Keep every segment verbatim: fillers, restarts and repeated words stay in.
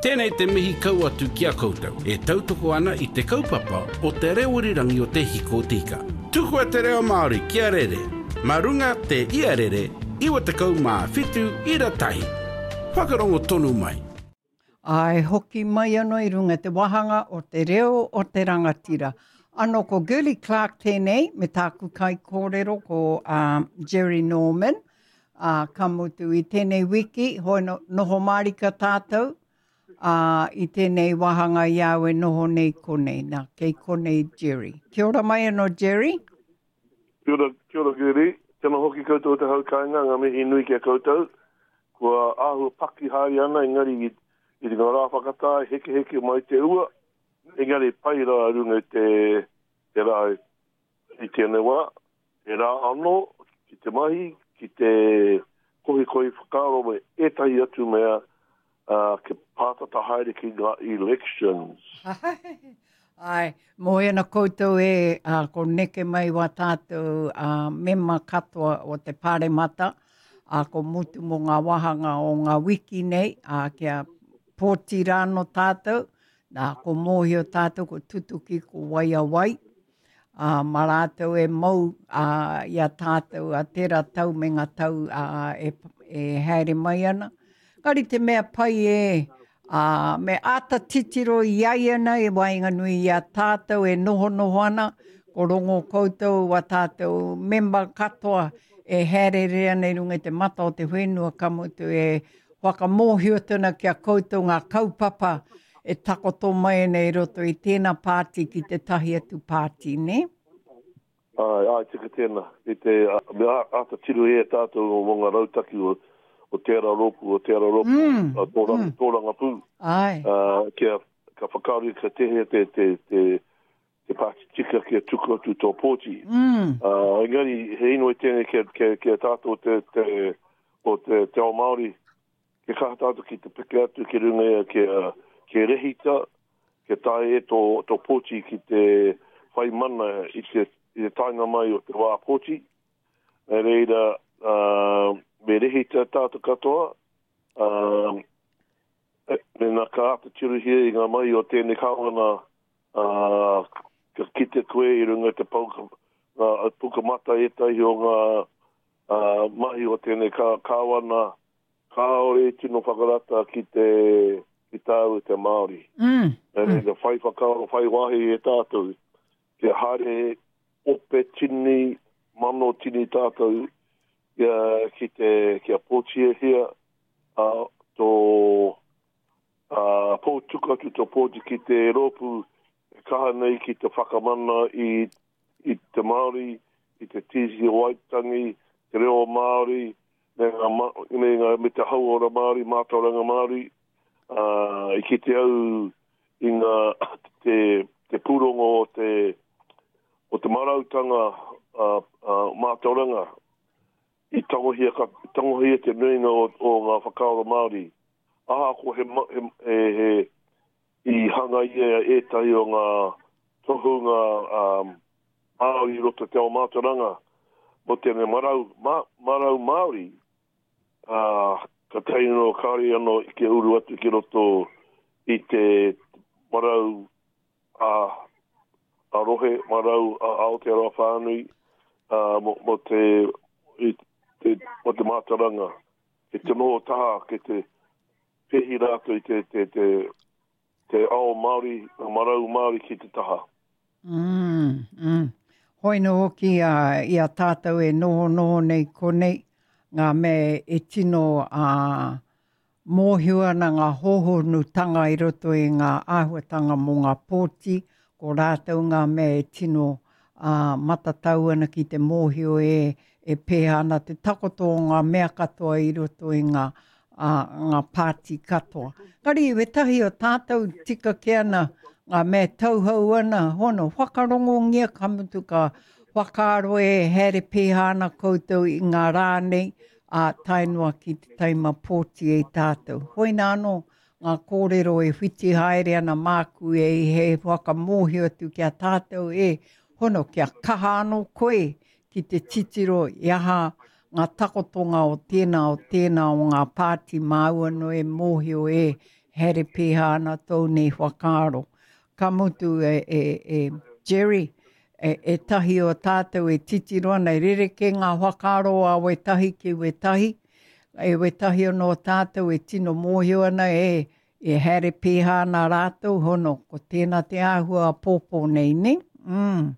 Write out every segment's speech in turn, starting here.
Tēnei te mihi kau atu ki a koutou e tautoko ana i te kaupapa o te reo irirangi o Te Hiku o Te Ika. Tukua te reo Māori kia rere, mā runga te iarere iwa tekau mā whitu ira tahi. Whakarongo tonu mai. Āe, hoki mai anō i runga i te wāhanga o te reo o te rangatira. Anō ko Girlie Clarke tēnei me tāku kaikōrero ko um, Jerry Norman. Ā, ka mutu i tēnei wiki, hoi no, noho mārika tātou, ā, i tēnei wāhanga i au e noho nei konei. Nā, kei konei Jerry. Kia ora mai anō Jerry. Kia ora, kia ora Girlie. Tēnā hoki koutou o te hau kāinga, ngā mihi nui ki a koutou. Kua āhua paki haere ana engari i, i ngā rā whakatā, hekeheke mai te ua, engari pai rā runga i te, te rā i tēnei wā. He rā anō ki te mahi, ki te kohikohi whakaaro me ētahi atu mea, ā, kia pātata haere ki ngā elections. Āe, moe ana koutou e, ā, ko neke mai wā tātou ā, mema katoa o te Pāremata, ā, ko mutu mō ngā wāhanga o ngā wiki nei, ā, kia pōti rānō tātou, nā, ko mōhio tātou, ko tutuki, ko wai a wai, ā, mā rātou e mau ā, i a tātou a tērā tau me ngā tau ā, e, e haere mai ana. Kari te mea pai e, ā, me āta titiro i aianei i waenganui i a tātou e nohonoho ana, ko rongo koutou a tātou mema katoa e haerere ana i runga i te mata o te whenua ka mutu e whakamōhio atu ana ki a koutou ngā kaupapa e takoto mai ana i roto i tēnā pāti ki tētahi atu pāti, nē? Āe, āe, tika tēnā. I te, me āta tiro e tātou mō ngā rautaki o, o tērā rōpū, o tērā rōpū, mm, tōranga, mm. tōrangapū. Āe. Uh, kia, ka whakaaro ka tehea te, te, te, te pāti tika kia tuku atu tō pōti. Mm. Uh, engari, he inoi tēnei kia, kia, kia tātou te, te, o te, te ao Māori, Kia kaha tātou ki te peke atu ki runga ia kia, kia rehita, kia tae e tō, tō pōti ki te whai mana i te, i te taenga mai o te wā pōti. Nā reira, uh, me rehita tātou katoa, uh, mēnā ka āta tirohia i ngā mahi o tēnei kāwana, uh, ka kite koe i runga i te pouka, ngā pukamata ētahi o ngā uh, mahi o tēnei kāwana, Kāore i tino whakarata ki te, ki tāu te Māori. Mm. Nā reira, mm. whai whakaaro, whai wāhi e tātou, kia haere ope tini, mano tini tātou, kia, ki te, kia pōtiehia, a, tō, a, pōtuka atu tō pōti ki te rōpū e kaha nei ki te whakamana i, i te Māori, i te Tiriti o Waitangi, te reo Māori, me ngā, me ngā, me te hauora Māori, mātauranga Māori, ā, i kite au i ngā, te, te pūrongo o te, o te marautanga ā, ā, mātauranga, i tangohia, ka, tangohia te nuinga o, o ngā whakaaro Māori. Ahakoa he, he, he, he, i hangaia ētahi o ngā tohunga um, Māori i roto te ao mātauranga mō tēnei marau, ma, marau Māori, ā, ka tae anō, kāore anō kia uru atu ki roto i te marau a, a rohe, marau a Aotearoa whānui, ā, mō, mō te, i te, mō te mātauranga, ki te noho taha, ki te pēhi rātou i te, te, te, te ao Māori, ngā marau Māori ki te taha. Mm, mm. Hoi nō hoki a, i a tātou e nohonoho nei konei, ngā mea e tino a, mōhio ana ngā hōhonutanga i roto i ngā āhuatanga mō ngā pōti, ko rātou ngā mea e tino a, matatau ana ki te mōhio e, e pēhea ana te takoto o ngā mea katoa i roto i ngā, a, ngā pāti katoa. Kari, wetahi o tātou tika kē ana ngā mea tauhou ana, hono, whakarongongia ka mutu ka whakaaro e haere pēhea ana koutou i ngā rā nei, ā, tae noa ki te taima pōti e tātou. Hoina anō ngā kōrero e whiti haere ana māku e he whakamōhio atu ki a tātou e hono kia kaha anō koe ki te titiro i aha ngā takotonga o tēnā o tēnā o ngā pāti māu anō e mōhio e Haere pēhā ana tōu nei whakaaro. Ka mutu e, e, e Jerry, e, e tahi o tātou e titiro ana, e rerekē ngā whakaaro a wētahi ki wētahi, e wētahi anō tātou e tino mōhio ana e, e haere pēhā ana rātou, hono, ko tēnā te āhua pōpō nei, ne? Mm.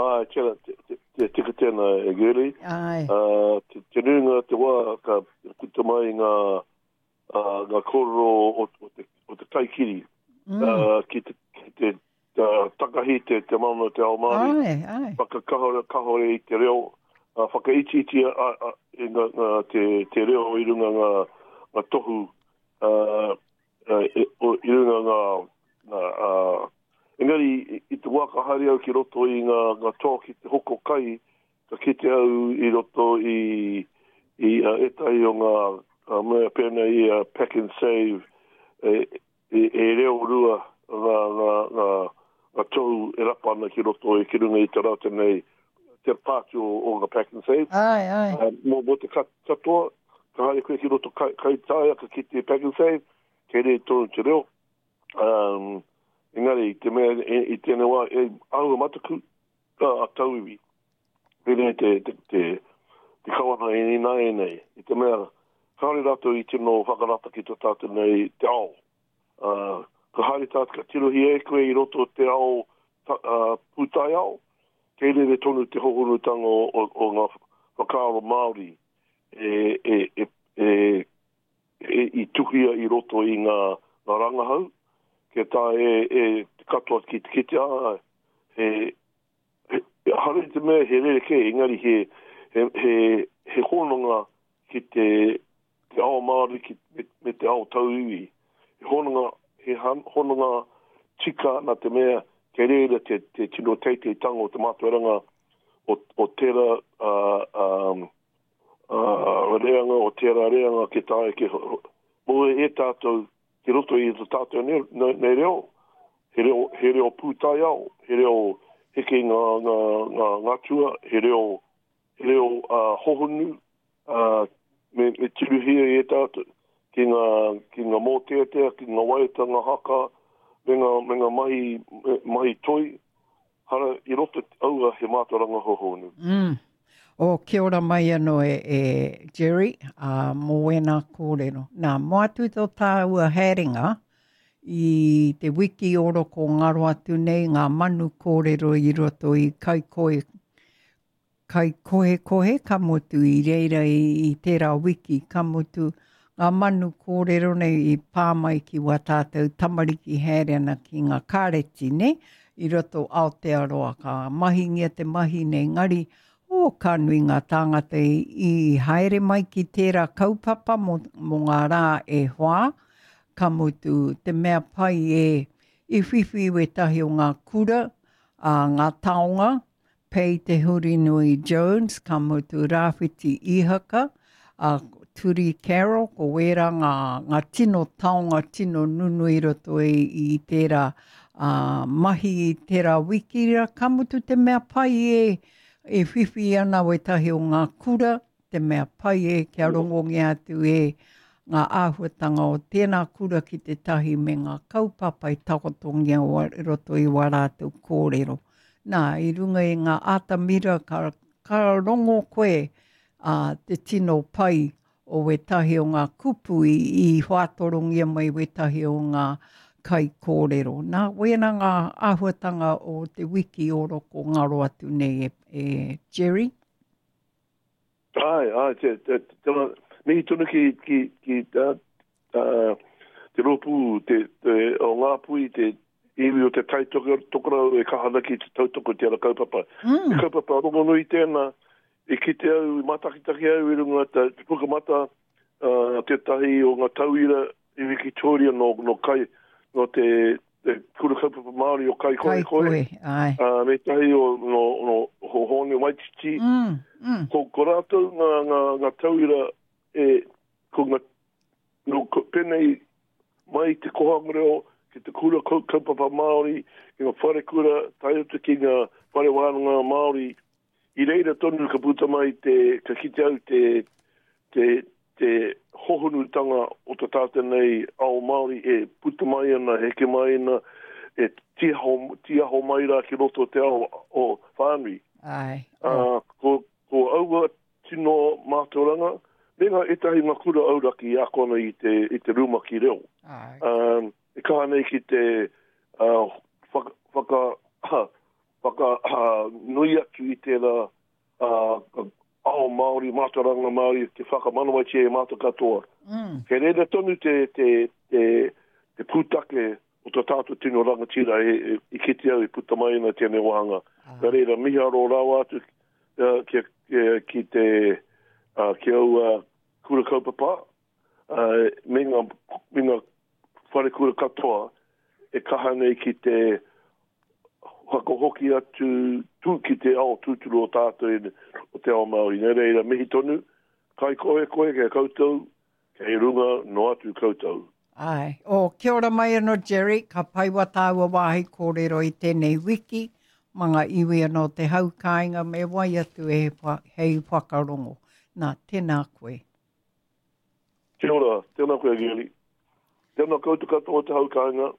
Ai, tēnā, te, te, te tika tēnā e Girlie. Ai. Uh, te, te nuinga te wā ka puta mai ngā, uh, ngā kōrero o, o, te, o te kaikiri mm. uh, ki te, ki te uh, takahi te, te mana o te ao Māori. Ai, ai. Whakakahore kahore i te reo, uh, whakaitiiti a, a, i ngā, ngā, te, te reo i runga ngā, ngā tohu, uh, uh, i, o, i runga ngā, ngā uh, engari i, i te wā ka haere au ki roto i ngā, ngā toa ki te hoko kai, ka kite au i roto i, i uh, ētahi o ngā uh, mea pēnei i uh, Pack and Save, e, e, e reo rua ngā, ngā, ngā, ngā tohu e rapa ana ki roto i ki runga i te rātou nei, te pātu o, o ngā Pack and Save. Ai, ai. Uh, mō, mō te katoa, ka haere koe ki roto kai, kai taia, ka kite Pack and Save, kei rei tonu te reo. Um, engari, te mea i, i tēnei wā, e āhua mataku a, a tauiwi. Pēnei te, te, te, te kawana i ināianei. I te mea, kāore rātou i tino whakarata ki tō tātou nei te ao. Uh, ka haere tātou, ka tirohia e koe i roto te ao ta, uh, pūtaiao, kei rere tonu te hohonutanga o, o, o ngā whakaaro Māori e, e, e, e, e, i tuhia i roto i ngā, ngā rangahau, kia tae e, e te katoa ki te kite a, he, he, hare te mea he rerekē, engari he, he, he, he hononga ki te, te ao Māori ki, me, me te ao tauiwi. He hononga, he han, hononga tika nā te mea kei reira te, te tino teiteitanga o te mātauranga o, o tērā uh, um, uh, reanga, o tērā reanga ki tae ki mō e tātou ki roto i tō tātou nei, nei, nei reo, he reo, he reo pūtaiao, he reo heke ngā, ngā, ngā ngatua, he reo, he reo uh, hohonu, uh, me, me tirohia e tātou ki ngā, ki ngā mōteatea, ki ngā waiata, ngā haka, me ngā, me ngā mahi, mahi toi, hara i roto aua he mātauranga hohonu. Mm. O, kia ora mai anō e, e Jerry, uh, mō wēnā kōrero. Nā, mō atu tō tāua haerenga i te wiki oro ko ngaro atu nei ngā manu kōrero i roto i Kaikohe, Kaikohekohe, ka mutu i reira i, i tērā wiki, ka mutu ngā manu kōrero nei i pā mai ki wā tātou tamariki haere ana ki ngā kāreti, ne? I roto Aotearoa, ka mahingia te mahi nei ngari, o, ka nui ngā tāngata i, i haere mai ki tērā kaupapa mō, mō ngā rā e whā, ka mutu te mea pai e i whiwhi wētahi o ngā kura, a ngā taonga, Pei Te Hurinui Jones, ka mutu Rāwhiti Ihaka, a Turi Carroll, ko wērā ngā, ngā tino taonga, tino nunui roto i, i tērā uh, mahi i tērā wiki rā, ka mutu te mea pai e, e whiwhi ana wētahi o ngā kura, te mea pai e kia rongongia atu e ngā āhuatanga o tēnā kura ki te tahi me ngā kaupapa i takotongia o roto i wā rātou kōrero. Nā, i runga i ngā atamira ka, ka rongo koe uh, te tino pai o wētahi o ngā kupu i, i whātorongia mai wētahi o ngā kai kōrero. Nā, wēnā ngā āhuatanga o te wiki oro ko ngaro atu nei e, e Jerry. Ai, ai, te, te, te, te, mihi tonu ki, ki, ki uh, uh, te rōpū, te, te, o Ngāpuhi, te iwi o te Tai Tokerau e kaha ana ki te tautoko te ara kaupapa. Mm. Te kaupapa rongonui tēnā, i kite au, i mātakitaki au i runga te, te pukamata, uh, tētahi o ngā tauira i Wikitoria no, no kai, no te, te kura kaupapa Māori o Kaikohekohe. Kaikohe, ai. Uh, me tahi o no, no Hōne Waititi. Mm, mm. Ko, ko rātou ngā, ngā, ngā tauira e, ko ngā, no, ko, pēnei mai te kohanga reo, ki te kura kaupapa Māori, ki ngā wharekura, tae atu ki ngā whare wānanga Māori, i reira tonu ka puta mai te, ka kite au te, te, te hohonutanga o te tātou nei ao Māori e puta mai ana, heke mai ana, e tiaho, tiaho mai rā ki roto te ao o whānui. Ai. Uh, ko, ko aua tino mātauranga, me ngā ētahi ngā kura auraki i akona i te, i te rumaki reo. Ai. Um, e kaha nei ki te uh, whaka, whaka, whaka uh, nui atu i tērā uh, ao Māori, mātauranga Māori, te whakamanawaitia e mātou katoa. Mm. He reira tonu te, te, te, te pūtake o tō tātou tino rangatira e, e, i kite au i puta mai ana tēnei wāhanga. Ai. Nā reira, miharo rawa atu uh, ki, ki, ki te uh, ki aua kura kaupapa, uh, me ngā, me ngā whare kura katoa e kaha nei ki te whakahoki atu tū ki te ao tūturu o tātou i, o te ao Māori. Nā reira, mihi tonu, kai koe koe kia koutou, kei runga no atu koutou. Ai. O, kia ora mai anō, Jerry, ka paiwa tāua wāhi kōrero i tēnei wiki, ma ngā iwi anō te hau kāinga me wai atu e hei whakarongo. Nā, tēnā koe. Kia ora, tēnā koe, Geri. Tēnā koutou katoa te hau kāinga.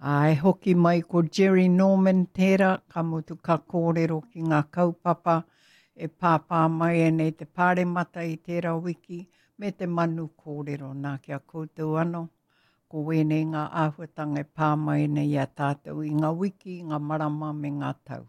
Ai, hoki mai ko Jerry Norman tērā, ka mutu ka kōrero ki ngā kaupapa e pāpā mai nei te pāremata i tērā wiki me te manu kōrero nā kia koutou anō. Ko wēnei ngā āhuatanga e pā mai nei i a tātou i ngā wiki, ngā marama me ngā tau.